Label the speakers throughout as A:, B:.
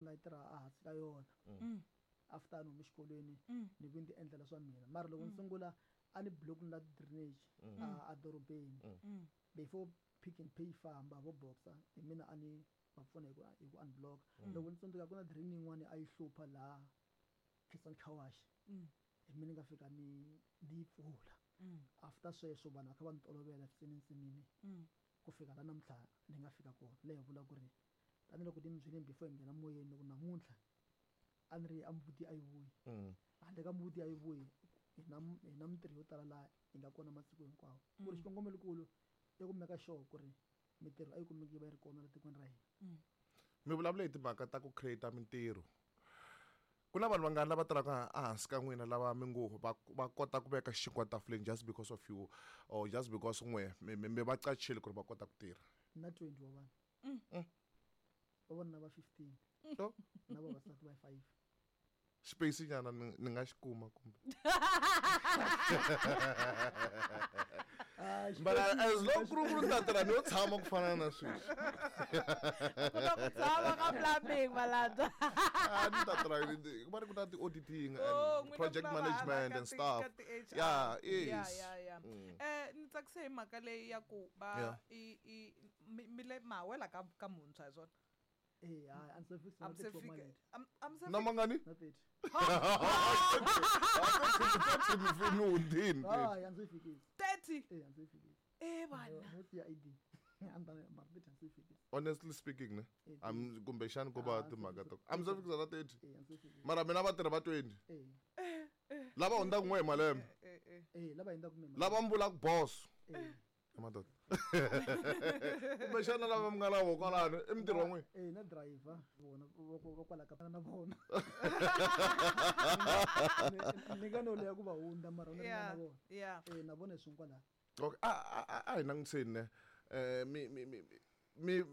A: La yi tirha ehansi ka yona. After ni hume xikolweni ni vi ni ti endlela swa mina. Mara loko ni sungula a ni block na drainage a dorobeni. Before Pick n Pay yi famba vo Boxer hi mina a ni va pfuna hi ku unblock. Loko ni tsundzuka ku na drain yin'wani a yi hlupha laha Kensani Car Wash. Hi mina ni nga fika ni yi pfula. After sweswo vanhu va kha va ni tolovela nsin'wini ku fika la namuntlha ni nga fika kona. Leyi hi vula ku ri tanihiloko ni mi byelini before hi nghena moyeni ku namuntlha a ni ri a mbuti a yi vuyi. Handle ka mbuti a yi vuyi hi na mintirho yo tala laha hi nga kona masiku hinkwawo. Ku ri xikongomelokulu i ku make sure ku ri mintirho a yi kumeki yi va yi ri kona la tikweni ra hina.
B: Mi vulavula hi timhaka ta ku create mintirho. Ku na vanhu vangani lava tirhaka ehansi ka n'wina lava mi ngo va kota ku veka xinkwa tafuleni just because of you or just because n'we mi va qachile ku ri va kota ku tirha?
A: Na 20 wa vanhu. Vavanuna va 15.
B: Oh.
A: Na vavasati va 5.
B: Space nyana ni nga xi kuma kumbe.
A: Ah,
B: But as long ku ri ni ta tirha ni yo tshama ku fana na sweswi.
C: Ku na ku tshama ka plumbing malandza.
B: Ah, ni ta tirha ku va ri ku na ti-auditing and
C: Oh, n'wina
B: project
C: ku na
B: management
C: va
B: and stuff.
C: ka ti-HR.
B: Yeah,
C: Yeah,
B: yes.
C: yeah. Ni tsakise hi mhaka leyi ya ku va i mi le ma wela ka muntshwa hi swona.
A: Eh, hayi, a ndzi se fikisa
C: A
A: na
C: mi se
A: 30 wa
C: fika-
A: malembe.
C: a mi se
B: Na
C: fika-
B: mangani?
A: Na 30.
B: Ni hundzini.
A: Hayi, a ndzi fikisi.
C: 30?
A: Eh, a ndzi fikisi.
C: Eh, vana.
A: No siya ID. A ni ta mara 30 a ndzi fikisi.
B: Honestly speaking ne.
A: Eh,
B: Am kumbexani ko va
A: Ah,
B: timhaka
A: ndzi
B: ta. A mi se fikisa na 30.
A: Eh, a ndzi fikisi.
B: Mara mina vatirhi va 20.
A: Eh.
B: Lava hundzaka n'we hi malembe.
C: Eh, eh.
A: Eh, lava hundzaka n'we hi malembe.
B: Lava mi vulaka boss.
A: Eh.
B: Madoda. Kumbexana lava mi nga na vona kwalano i mintirho wa n'wina.
A: Eh, na driver vona va kwala ka na vona. Ni nga no leya ku va hundza mara ni nga na vona. Eh, na vona hi swin'we kwala.
B: Okay, a hi langutiseni ne. Mi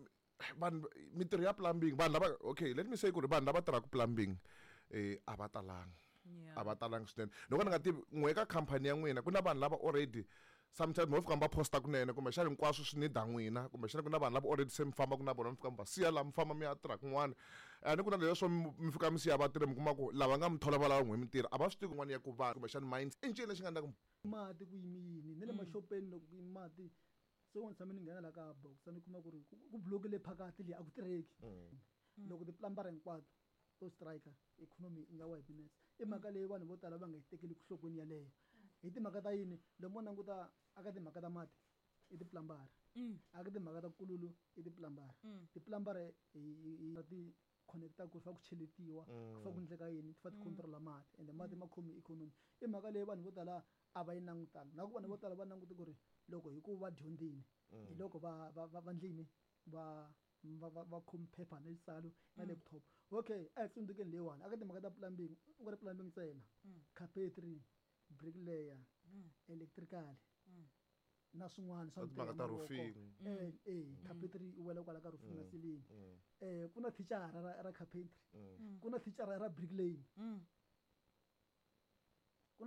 B: vanhu mintirho ya plumbing vanhu lava, okay, let me say ku ri vanhu lava tirhaka plumbing a va talanga. A va talanga swinene. Loko ni nga tivi n'we ka company ya n'wina ku na vanhu lava already sometimes mo fika mi va posta kunene kumbexana hinkwaswo swi need n'wina kumbexana ku na vanhu lava already se mi fambaka na vona mi fika mi va siya laha mi famba mi ya tirha kun'wana. Ni ku na leswo mi fika mi siya vatirhi mi kuma ku lava nga mi thola va lava n'we mintirho a va swi tivi kun'wana ya ku va kumbexana mind i ncini lexi nga endlaka
A: mati ku yimi yini ni le maxopeni loko ku yimi mati se ni tshame ni nghena la ka box ni kuma ku ri ku block-ile phakathi leyi a ku tirheki. Loko ti-plumber hinkwato to striker economy yi nga wa hi minutes. I mhaka leyi vanhu vo tala va nga yi tekeli enhlokweni yaleyo. Hi timhaka ta yini loko mo languta aka timhaka ta mati i ti-plumber. Aka timhaka ta kululu i ti-plumber. Ti-plumber hi ti connecta ku fa ku cheletiwa, ku fa ku endleka yini, ti fa ti control mati ende mati ma khomi economy. I mhaka leyi vanhu vo tala a va yi langutanga. Na ku vanhu vo tala va langute ku ri loko hi ku va dyondzile hi loko va ndlini va khomi phepha na xitsalo na laptop. Okay, a hi tsundzukeni leyiwani aka timhaka ta plumbing u nga ri plumbing ntsena. Carpentry, bricklayer, electrical na swin'wana swa
B: Na timhaka ta
A: mintirho ya mavoko.
B: roofing.
A: Carpentry yi wela kwala ka roofing na ceiling. Ku na thicara ra carpentry. Ku na thicara ra bricklaying. Ku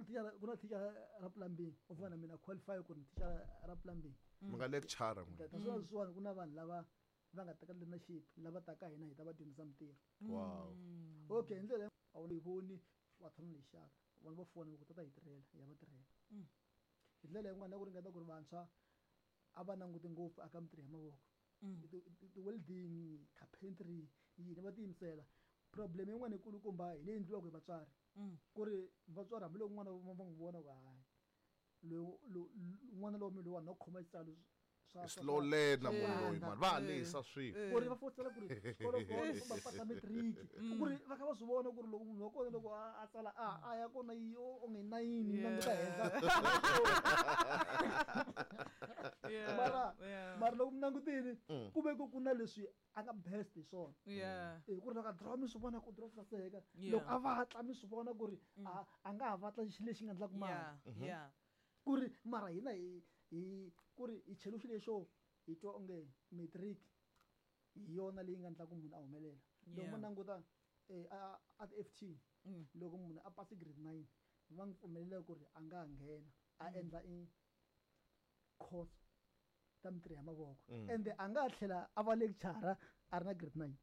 A: na thicara ra plumbing. U fana na mina qualify ku ri thicara ra plumbing.
B: Mi nga lecture n'wina.
A: Ta swona swin'wana ku na vanhu lava va nga teka learnership lava taka hina hi ta va dyondzisa mintirho.
B: Wow.
A: Okay, hi ndlela a wu yi voni wa tshama ni xaka. Vanhu va fona ku tata hi tirhela, hi ya va tirhela. Hi ndlela yin'wana na ku ringeta ku ri vantshwa a va languti ngopfu aka mintirho ya mavoko. Ti-welding, carpentry, yini va tiyimisela. Problem yin'wana yikulukumba hi leyi endliwaka hi vatswari. Ku ri vatswari hambiloko n'wana va n'wi vona ku hayi n'wana lowa mina lowa na ku khoma xitsalo
B: Slow learner munhu loyi mani, va halisa swilo.
A: Ku ri va fosela ku ri xikolo kona kumbe va pasa matric. Ku ri va kha va swi vona ku ri loko munhu wa kona loko a tsala a ya kona yi onge 9 yi languta henhla. Mara loko mi langutile, ku ve ku na leswi a nga best hi swona. Ku ri loko a draw mi swi vona ku draw saseka. Loko a vatla mi swi vona ku ri a nga ha vatla xilo lexi nga endlaka mali. Ku ri mara hina hi ku ri hi chelo xilo lexo hi twa onge matric hi yona leyi nga endlaka munhu a humelela. Loko mo languta, a ti-F T, loko munhu a pasi grade 9 va n'wi pfumelela ku ri a nga ha nghena a endla i course ta mintirho ya mavoko. Ende a nga tlhela a va lecturer a ri na grade 9.